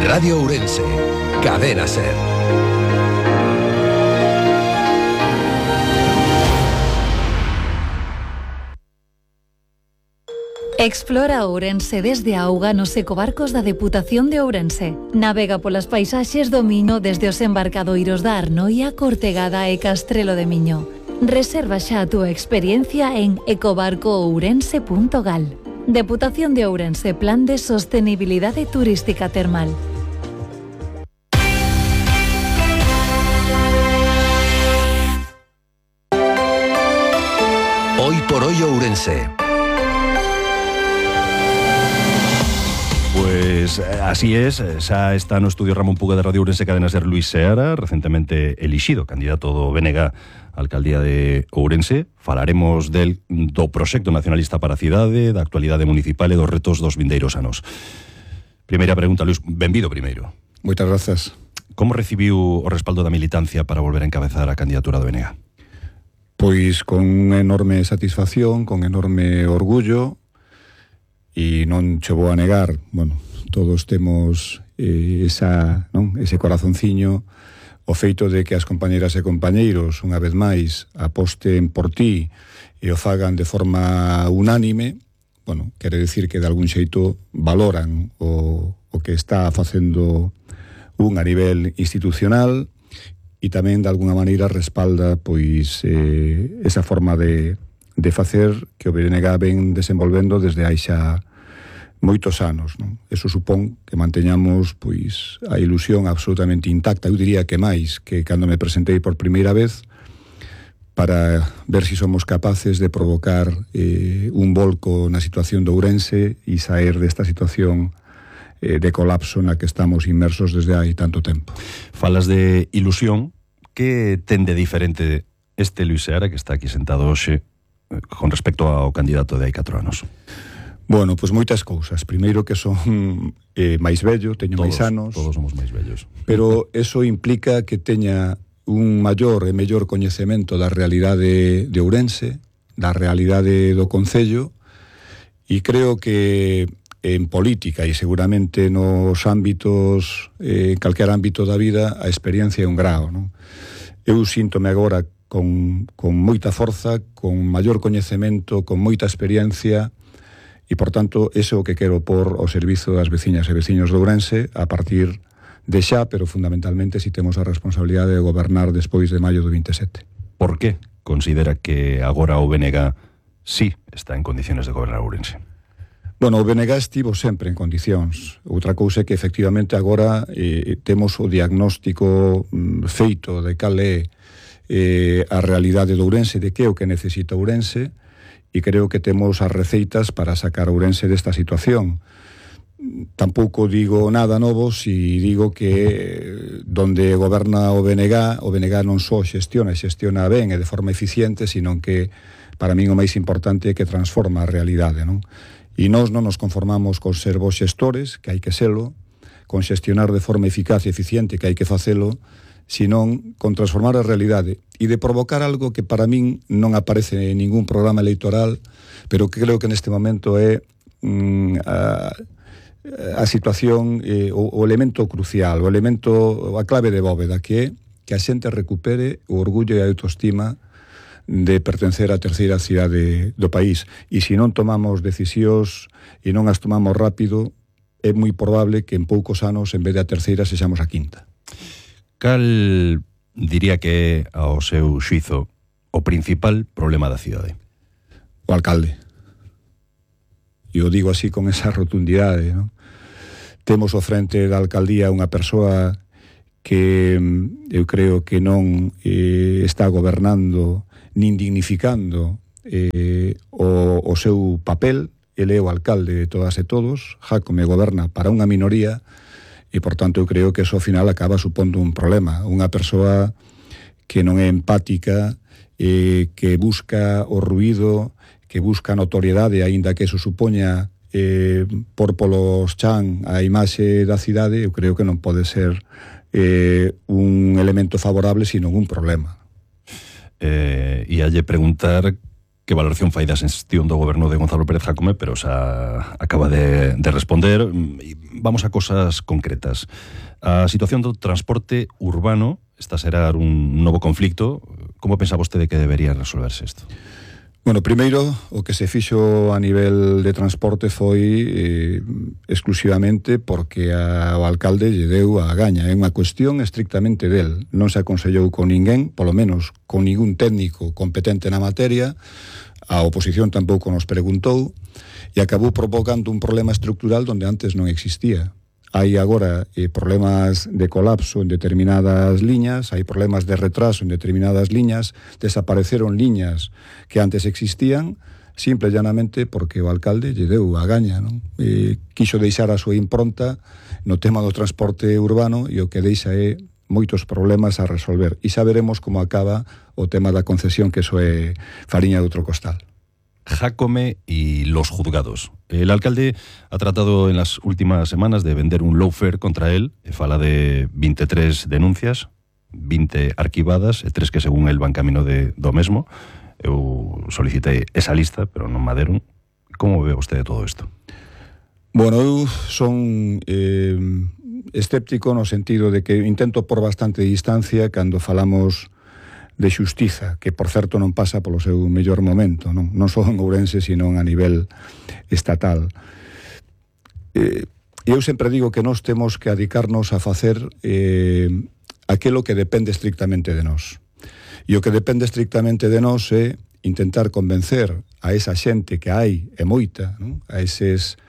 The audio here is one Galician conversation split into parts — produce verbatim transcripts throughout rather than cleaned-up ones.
Radio Ourense, Cadena Ser. Explora Ourense desde a auga nos ecobarcos da Deputación de Ourense. Navega polas paisaxes do Miño desde os embarcadoiros da Arnoia, Cortegada e Castrelo de Miño. Reserva xa a túa experiencia en ecobarco ourense punto gal. Deputación de Ourense, Plan de Sostenibilidade Turística Termal. Hoy por hoy Ourense. Pues así es, xa está no estudio Ramón Puga de Radio Ourense Cadena Ser Luis Seara, recentemente elixido candidato do B N G á Alcaldía de Ourense. Falaremos del do proxecto nacionalista para a cidade, da actualidade municipal e dos retos dos vindeiros anos. Primeira pregunta, Luis, benvido primeiro. Moitas grazas. Como recibiu o respaldo da militancia para volver a encabezar a candidatura do B N G á? Pois con enorme satisfacción, con enorme orgullo, e non che vou a negar, bueno, todos temos eh, esa, non, ese corazonciño, o feito de que as compañeras e compañeiros, unha vez máis, aposten por ti e o fagan de forma unánime, bueno, quere decir que de algún xeito valoran o, o que está facendo un a nivel institucional e tamén de alguna maneira respalda pois eh, esa forma de de facer que o B N G ven desenvolvendo desde hai xa moitos anos, non? Eso supón que manteñamos pois a ilusión absolutamente intacta, eu diría que máis que cando me presentei por primeira vez, para ver se si somos capaces de provocar eh, un volco na situación de Ourense e saer desta situación eh, de colapso na que estamos inmersos desde hai tanto tempo. Falas de ilusión, que ten de diferente este Luis Seara que está aquí sentado hoxe con respecto ao candidato de hai catro anos? Bueno, pois moitas cousas. Primeiro que son eh, máis vello, teño todos, máis anos. Todos somos máis vellos. Pero eso implica que teña un maior e mellor coñecemento da realidade de Ourense, da realidade do concello, e creo que en política e seguramente nos ámbitos, eh, calquer ámbito da vida, a experiencia é un grao, non? Eu síntome agora con, con moita forza, con maior coñecemento, con moita experiencia, e, por tanto, ese é o que quero por ao servizo das veciñas e veciños de Ourense a partir de xa, pero fundamentalmente si temos a responsabilidade de gobernar despois de maio do vinte e sete. Por que considera que agora o B N G sí está en condiciones de gobernar Ourense? Bueno, o B N G estivo sempre en condicións. Outra cousa é que, efectivamente, agora eh, temos o diagnóstico mm, feito de cal é eh, a realidade de Ourense, de que é o que necesita Ourense, e creo que temos as receitas para sacar a Ourense desta situación. Tampouco digo nada novo si digo que donde goberna o B N G, o B N G non só xestiona, xestiona ben e de forma eficiente, sino que para min o máis importante é que transforma a realidade, non? E nós non nos conformamos con ser vos xestores, que hai que selo, con xestionar de forma eficaz e eficiente, que hai que facelo, senón con transformar a realidade e de provocar algo que para min non aparece en ningún programa electoral, pero que creo que neste momento é mm, a, a situación, eh, o, o elemento crucial, o elemento, a clave de bóveda, que é que a xente recupere o orgullo e a autoestima de pertencer á terceira cidade do país. E se non tomamos decisións e non as tomamos rápido, é moi probable que en poucos anos, en vez de a terceira, sexamos a quinta. Cal diría que é, ao seu xuizo, o principal problema da cidade? O alcalde. E o digo así con esa rotundidade, non? Temos ao frente da alcaldía unha persoa que eu creo que non eh, está gobernando nin dignificando eh, o, o seu papel. Ele é o alcalde de todas e todos, Jácome goberna para unha minoría, e, por tanto, eu creo que eso ao final acaba supondo un problema. Unha persoa que non é empática, eh, que busca o ruído, que busca notoriedade, aínda que eso supoña eh, por polos chan a imaxe da cidade, eu creo que non pode ser eh, un elemento favorable, sino un problema. Eh, e alle preguntar que valoración fai da xestión do goberno de Gonzalo Pérez Jácome, pero xa acaba de, de responder. vamos a cosas concretas. A situación do transporte urbano está a xerar un novo conflicto. Como pensa vostede que debería resolverse isto? Bueno, primeiro, o que se fixo a nivel de transporte foi eh, exclusivamente porque a, o alcalde lle deu a gaña. É unha cuestión estrictamente del. Non se aconsellou con ninguén, polo menos con ningún técnico competente na materia. A oposición tampouco nos preguntou e acabou provocando un problema estructural donde antes non existía. Hai agora eh, problemas de colapso en determinadas liñas, hai problemas de retraso en determinadas liñas, desapareceron liñas que antes existían, simple e llanamente porque o alcalde lle deu a gaña, non? Eh, quixo deixar a súa impronta no tema do transporte urbano e o que deixa é moitos problemas a resolver. E xa veremos como acaba o tema da concesión, que eso é fariña de outro costal. Jácome y los juzgados. El alcalde ha tratado en las últimas semanas de vender un lawfare contra él. Fala de veintitrés denuncias, veinte arquivadas, e tres que según el van camino de do mesmo. Eu solicitei esa lista, pero non me deron. Como ve vostede todo isto? Bueno, eu son eh, escéptico no sentido de que intento por bastante distancia cando falamos de xustiza, que por certo non pasa polo seu mellor momento, non, non só en Ourense, sino a nivel estatal. Eh, eu sempre digo que nós temos que adicarnos a facer eh, aquilo que depende estrictamente de nós. E o que depende estrictamente de nós é intentar convencer a esa xente que hai, é moita, non? A eses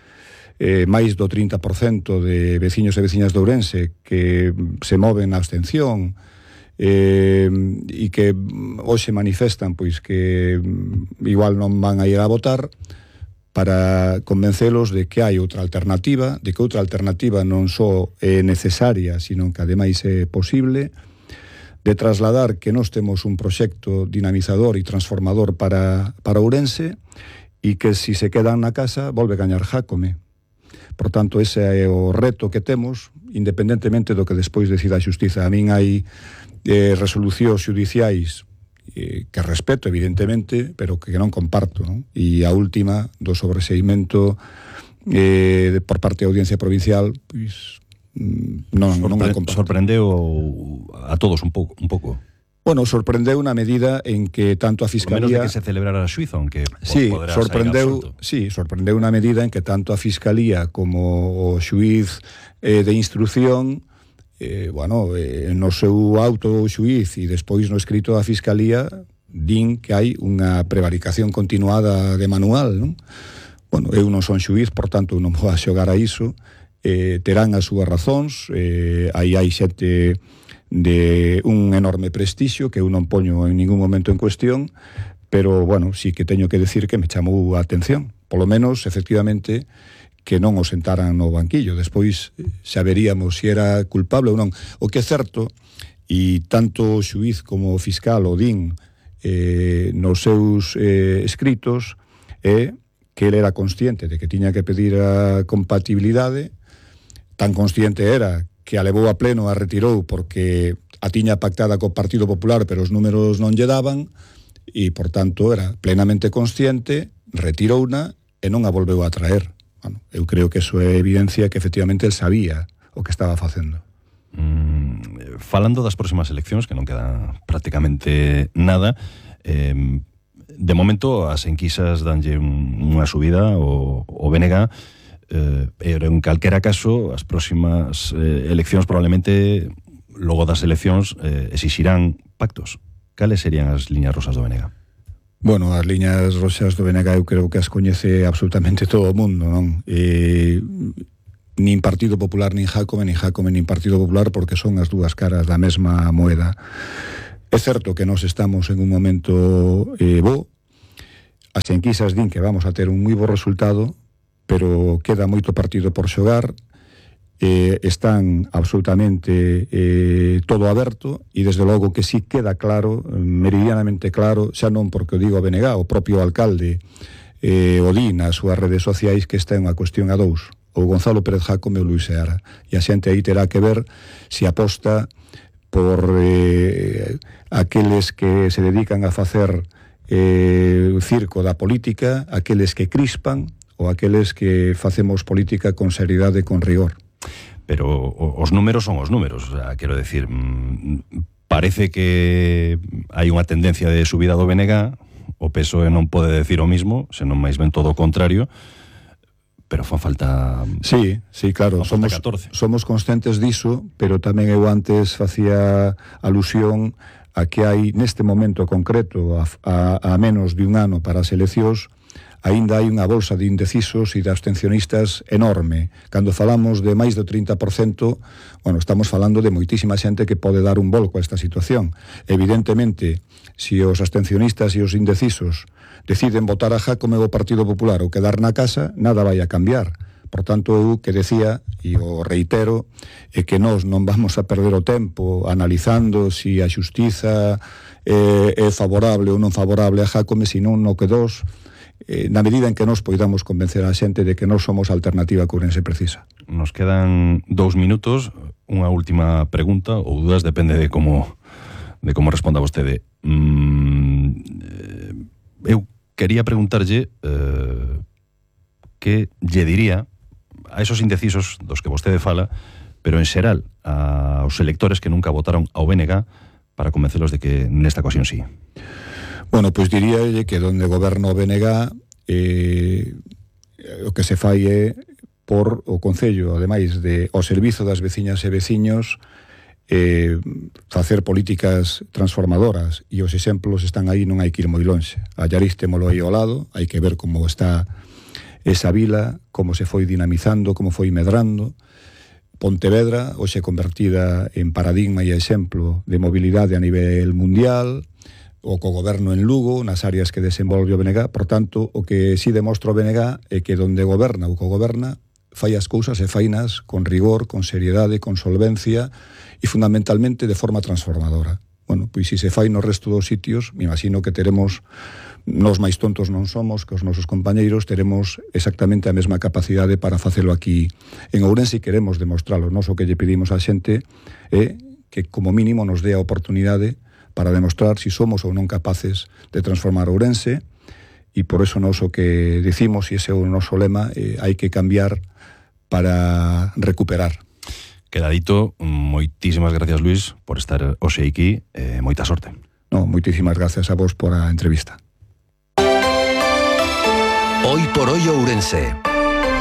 eh, máis do trinta por cento de veciños e veciñas de Ourense que se moven na abstención, eh, e que hoxe manifestan pois que igual non van a ir a votar, para convencelos de que hai outra alternativa, de que outra alternativa non só é necesaria, sino que ademais é posible, de trasladar que nós temos un proxecto dinamizador e transformador para, para Ourense, e que se se quedan na casa volve gañar Jácome. Por tanto, ese é o reto que temos, independentemente do que despois decida a xustiza. A min hai eh, resolucións xudiciais eh, que respeto, evidentemente, pero que non comparto, non? E a última, do sobreseimento eh, por parte da Audiencia Provincial, pois non, Sorpre- non a comparto. Sorprendeu a todos un pouco, un pouco. Bueno, sorprendeu na medida en que tanto a Fiscalía... Por menos de que se celebrara a xuizo, aunque sí, poderá sorprendeu, sí, sorprendeu na medida en que tanto a Fiscalía como o xuiz eh, de instrucción, eh, bueno, eh, no seu auto o xuiz e despois no escrito da Fiscalía din que hai unha prevaricación continuada de manual, non? Bueno, eu non son xuiz, por tanto non vou a xogar a iso, eh, terán as súas razóns, eh, aí hai xente de un enorme prestixio que eu non poño en ningún momento en cuestión, pero, bueno, sí que teño que decir que me chamou a atención. Polo menos, efectivamente, que non o sentaran no banquillo. Despois xa veríamos se era culpable ou non. O que é certo, e tanto o xuiz como o fiscal o din eh, nos seus eh, escritos, é que ele era consciente de que tiña que pedir a compatibilidade, tan consciente era que a levou a pleno, a retirou porque a tiña pactada co Partido Popular, pero os números non lle daban, e, por tanto, era plenamente consciente, retirouna e non a volveu a traer. Bueno, eu creo que eso é evidencia que, efectivamente, el sabía o que estaba facendo. Mm, falando das próximas eleccións, que non queda prácticamente nada, eh, de momento as enquisas danlle un, unha subida o, o B N G, Eh, pero en calquera caso as próximas eh, eleccións probablemente logo das eleccións eh, exixirán pactos. Cales serían as liñas rosas do B N G? Bueno, as liñas rosas do B N G eu creo que as coñece absolutamente todo o mundo, non? E nin Partido Popular nin Jácome, nin Jácome nin Partido Popular, porque son as dúas caras da mesma moeda. É certo que nós estamos en un momento eh, bo, as enquisas din que vamos a ter un moi bo resultado, pero queda moito partido por xogar, eh, están absolutamente eh, todo aberto, e desde logo que sí queda claro, meridianamente claro, xa non porque o digo a B N G, o propio alcalde eh, o di nas súas redes sociais, que esta é unha cuestión a dous, o Gonzalo Pérez Jácome ou Luís Seara, e a xente aí terá que ver se aposta por eh, aqueles que se dedican a facer eh, circo da política, aqueles que crispan, ou aqueles que facemos política con seriedade e con rigor. Pero os números son os números, o sea, quero decir, parece que hai unha tendencia de subida do B N G, o P S O E non pode decir o mismo, senón máis ben todo o contrario, pero fan falta... Sí, sí, claro, somos, somos conscientes diso, pero tamén eu antes facía alusión a que hai neste momento concreto, a, a, a menos de un ano para as eleccións, aínda hai unha bolsa de indecisos e de abstencionistas enorme. Cando falamos de máis do trinta por cento, bueno, estamos falando de moitísima xente que pode dar un volco a esta situación. Evidentemente, se si os abstencionistas e os indecisos deciden votar a Jácome o Partido Popular ou quedar na casa, nada vai a cambiar. Por tanto, eu que decía, e o reitero, é que nós non vamos a perder o tempo analizando se si a xustiza é, é favorable ou non favorable a Jácome, senón no que dos, eh, na medida en que nós poidamos convencer a xente de que nós somos a alternativa que Ourense precisa. Nos quedan dous minutos, unha última pregunta, ou dudas, depende de como de como responda vostede. Mm, eu quería preguntarlle eh, que lle diría a esos indecisos dos que vostede fala, pero en xeral aos electores que nunca votaron ao B N G para convencelos de que nesta ocasión sí. Bueno, pois pues diríalle que donde goberna o B N G eh, o que se fai é por o Concello, ademais de ao servizo das veciñas e veciños, eh, facer políticas transformadoras, e os exemplos están aí, non hai que ir moi lonxe. A Llariz témolo aí ao lado, hai que ver como está esa vila, como se foi dinamizando, como foi medrando. Pontevedra, hoxe convertida en paradigma e exemplo de mobilidade a nivel mundial, o cogoberno en Lugo, nas áreas que desenvolve o B N G. Por tanto, o que si demostra o B N G é que donde goberna ou cogoberna fai as cousas e fainas con rigor, con seriedade, con solvencia e fundamentalmente de forma transformadora. Bueno, pois se se fai no resto dos sitios, me imagino que teremos, nos máis tontos non somos, que os nosos compañeiros teremos exactamente a mesma capacidade para facelo aquí en Ourense, e queremos demostralo. Nos o que lle pedimos á xente é que como mínimo nos dé a oportunidade para demostrar si somos ou non capaces de transformar Ourense, e por eso nos o que decimos, e ese é o noso lema, eh, hai que cambiar para recuperar. Queda dito, moitísimas gracias, Luis, por estar hoxe aquí, eh, moita sorte. No, moitísimas gracias a vos por a entrevista. Hoy por hoy Ourense.